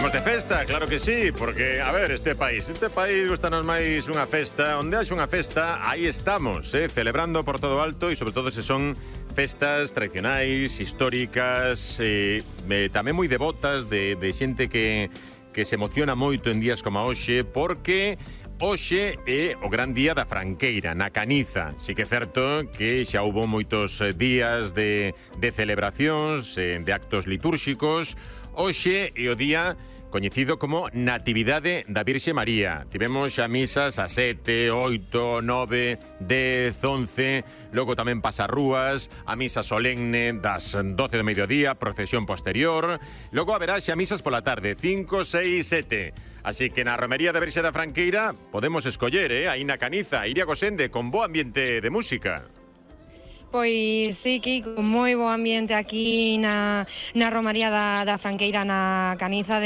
Estamos de festa, claro que sí, porque, a ver, este país gustanos máis unha festa, onde haxe unha festa, aí estamos, celebrando por todo alto, e sobre todo se son festas tradicionais, históricas, tamén moi devotas de xente que se emociona moito en días como hoxe, porque hoxe é o gran día da Franqueira, na Caniza. Si que é certo que xa houbo moitos días de celebracións, de actos litúrxicos. Hoxe é o día coñecido como Natividade da Virxe María. Tivemos xa misas a 7, 8, 9, 10, 11, logo tamén pasarrúas, a misa solemne das 12 do mediodía, procesión posterior, logo haberá xa misas pola tarde, 5, 6, 7. Así que na Romería da Virxe da Franqueira podemos escoller, aí na Caniza, Iria Gosende, con bo ambiente de música. Pois sí, Kiko, moi bo ambiente aquí na Romaría da Franqueira na Caniza.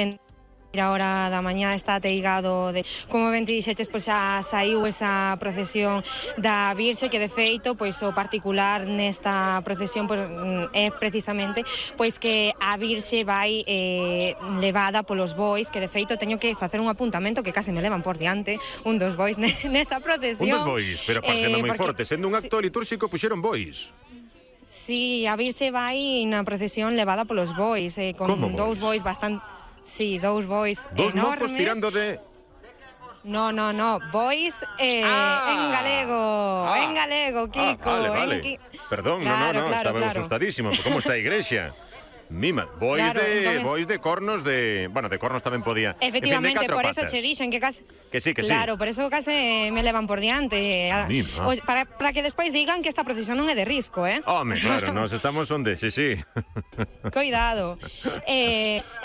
A hora da mañá está ateigado como ben te dixeches, pois xa saiu esa procesión da Virxe, que de feito, pois o particular nesta procesión pois, é precisamente pois que a Virxe vai levada polos bois, que de feito teño que facer un apuntamento que case me levan por diante un dos bois nesa procesión. Un dos bois, pero parecendo moi forte, sendo un acto litúrxico puxeron bois. Sí, a Virxe vai na procesión levada polos bois, con dous bois bastante... Sí, dous bois dos enormes. Mozos tirando de... No, bois en galego, Kiko. Vale. Perdón, claro, no, claro, estaba asustadísimo. ¿Cómo está a iglesia? Mima, bois de cornos de... Bueno, de cornos tamén podía. Efectivamente, por eso che dixen que case... Que sí. Claro, por eso case me levan por diante. Para que despois digan que esta procesión non é de risco, Home, claro, nos estamos onde, sí. Coidado.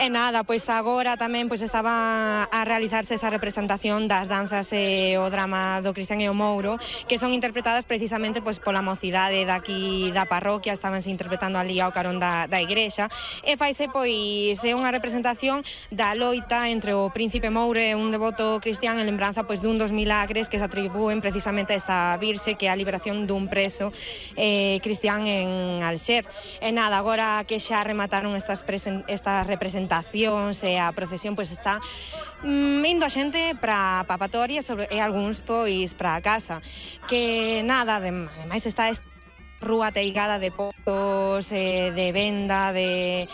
Nada, pois agora tamén pois estaba a realizarse esa representación das danzas e o drama do Cristian e o Mouro, que son interpretadas precisamente pois pola mocidade daqui da parroquia, estabanse interpretando ali ao carón da igrexa. E faise pois unha representación da loita entre o príncipe Mouro e un devoto cristián en lembranza pois dun dos milagres que se atribúen precisamente a esta Virxe, que é a liberación dun preso cristián en Alxer. E nada, agora que xa remataron estas representacións e a procesión pois está indo a xente para papatoria e algúns pois para casa. Que nada, ademais está rúa teigada de pozos, de venda, de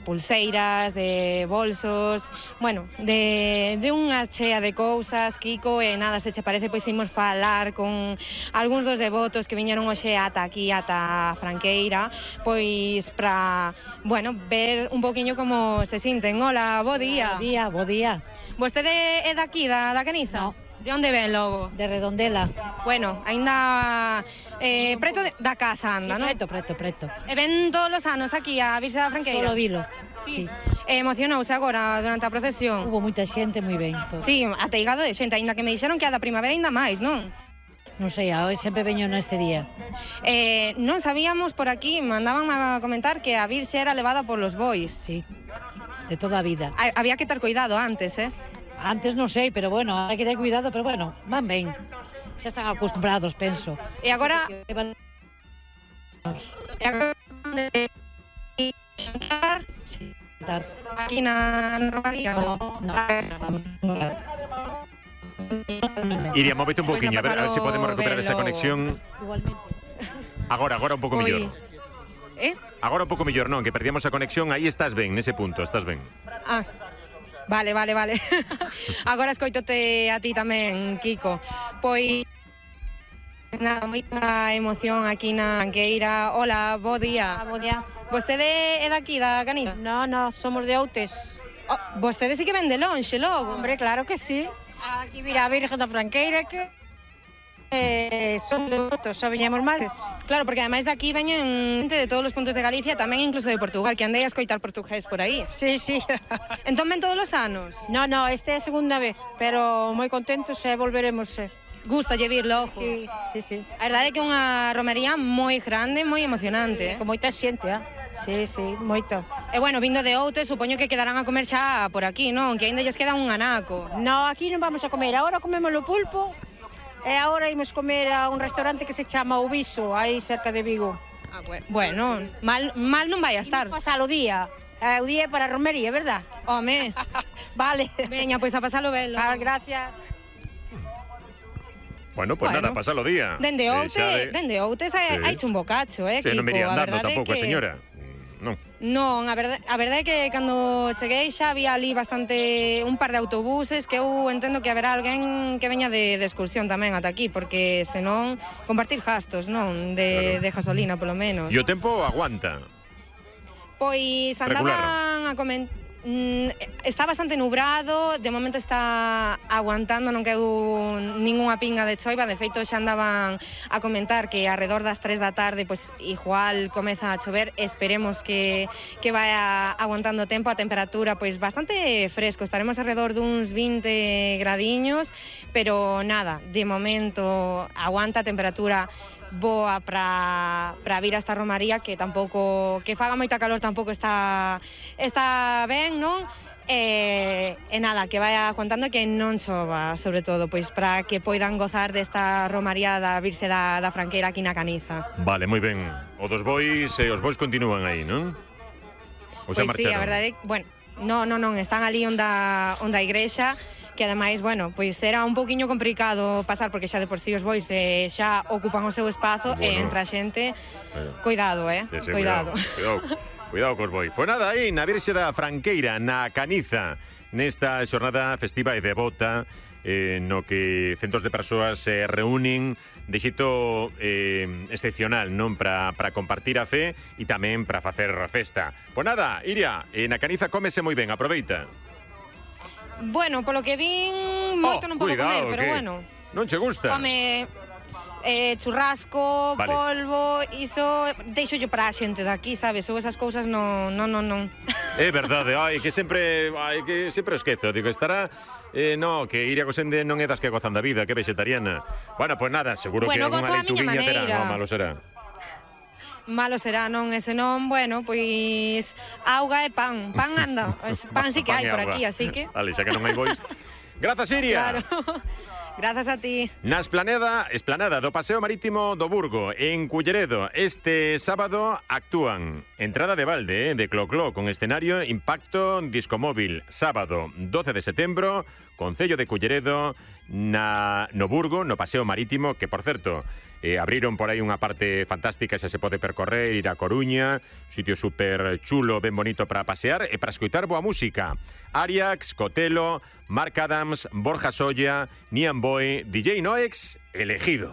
pulseiras, de bolsos, bueno, de unha chea de cousas, Kiko, e nada, se che parece, pois imos falar con algúns dos devotos que viñeron hoxe ata aquí, ata Franqueira, pois para, bueno, ver un poquinho como se sinten. Hola, bo día. Bo día. Vostede é daqui, da Caniza? No. De onde ven logo? De Redondela. Bueno, aínda preto da casa anda, sí, non? Preto. E ven todos os anos aquí a Virxe da Franqueira? Solo vilo. Sí. Emocionouse agora durante a procesión? Hubo moita xente, moi ben. Todo. Sí, ateigado de xente, aínda que me dixeron que a da primavera aínda máis, non? Non sei, sempre veño neste día. Non sabíamos por aquí, mandaban a comentar que a Virxe era levada por los bois. Sí, de toda a vida. Había que ter cuidado antes, Antes non sei, pero bueno, hai que ter cuidado, pero bueno, van ben. Xa están acostumbrados, penso. E agora... Aquí na Romaría? No. Iria, móvete un poquinho, a ver se podemos recuperar esa conexión. Igualmente. Agora un pouco mellor. Agora un pouco mellor, non, que perdíamos a conexión, aí estás ben, nese punto, estás ben. Vale. Agora escoitote a ti tamén, Kiko. Pois nada, moita emoción aquí na Franqueira. Hola, bo día. Bo día. Vostede é daqui, da Caniza? No, somos de Outes. Vostede sí que ven de lonxe, logo. Hombre, claro que sí. Aquí mira a Virgen da Franqueira que son devotos, xa viñamos máis. Claro, porque ademais de aquí veñen xente de todos os puntos de Galicia, tamén incluso de Portugal, que andei a escoitar portugués por aí. Sí. Entón ven todos os anos? No, esta é a segunda vez, pero moi contentos e volveremos. Gusta lle vir logo. Sí. A verdade é que é unha romería moi grande, moi emocionante. Con moita xente, Sí, moito. E bueno, vindo de Outes, supoño que quedarán a comer xa por aquí, non? Que aínda lles queda un anaco. No, aquí non vamos a comer, agora comemos o pulpo. E agora imos comer a un restaurante que se chama O Viso, aí cerca de Vigo. Bueno, mal non vai a estar. Imos pasar o día. O día para a romería, verdad? Home, Vale. veña, pois a pasalo velo. Gracias. Bueno, pues Bueno. nada, pasalo día. Dende Outes hai un bocacho, Sí, non me iría Kiko, a andando verdade é tampouco a que- señora. Non. Non, a verdade é que cando cheguei xa había ali un par de autobuses que eu entendo que haberá alguén que veña de excursión tamén ata aquí, porque senón compartir gastos, non? De gasolina, polo menos. E o tempo aguanta. Pois andaban a comentar. Está bastante nubrado, de momento está aguantando, non queu ningunha pinga de choiva, de feito xa andaban a comentar que alrededor das 3 da tarde pois igual comeza a chover, esperemos que vaya aguantando o tempo, a temperatura pois bastante fresco, estaremos alrededor duns 20 gradiños, pero nada, de momento aguanta a temperatura boa para vir a esta romaría, que tampouco, que faga moita calor tampouco está ben, non? E nada, que vaya aguantando que non chova, sobre todo, pois para que poidan gozar desta romaría da Virxe da Franqueira aquí na Caniza. Vale, moi ben. Os bois continúan aí, non? Ou xa Pois sí, marcharon? a verdade, bueno, non, están ali onde a igrexa, que ademais, bueno, pois era un pouquiño complicado pasar, porque xa de por sí os bois xa ocupan o seu espazo e Bueno. entra xente. Bueno. Cuidado, Sí, cuidado. Cuidado cos bois. Pois nada, aí na Virxe da Franqueira, na Caniza, nesta xornada festiva e devota, no que centos de persoas se reúnen de xeito excepcional, non, para compartir a fe e tamén para facer a festa. Pois nada, Iria, na Caniza cómese moi ben, aproveita. Bueno, polo que vin, moito non podo cuidado, comer, pero que bueno. Non che gusta? Home, churrasco, Vale. polvo, iso deixo yo para a xente daqui, sabes? Eu esas cousas non. É verdade, que sempre esquezo, digo, estará no, que Iria Gosende non é das que gozan da vida, que é vegetariana. Bueno, pois nada, seguro que Bueno, algunha gozo a miña leituguiña terá, maneira. malo será. Malo será, non? E senón, bueno, pois auga e pan. Pan anda, pan sí que hai Pan e por auga. aquí, así que. Vale, xa que non hai bois. Grazas, Iria. Claro. Grazas a ti. Na esplanada do Paseo Marítimo do Burgo, en Culleredo, este sábado actúan entrada de balde, de Clocló, con escenario Impacto Discomóvil. Sábado 12 de setembro, Concello de Culleredo, no Burgo, no Paseo Marítimo, que, por certo, abriron por aí unha parte fantástica, xa se pode percorrer, ir a Coruña, sitio super chulo, ben bonito para pasear e para escoitar boa música. Ariax, Cotelo, Marc Adams, Borja Solla, Nian Boy, DJ Noex, elegido.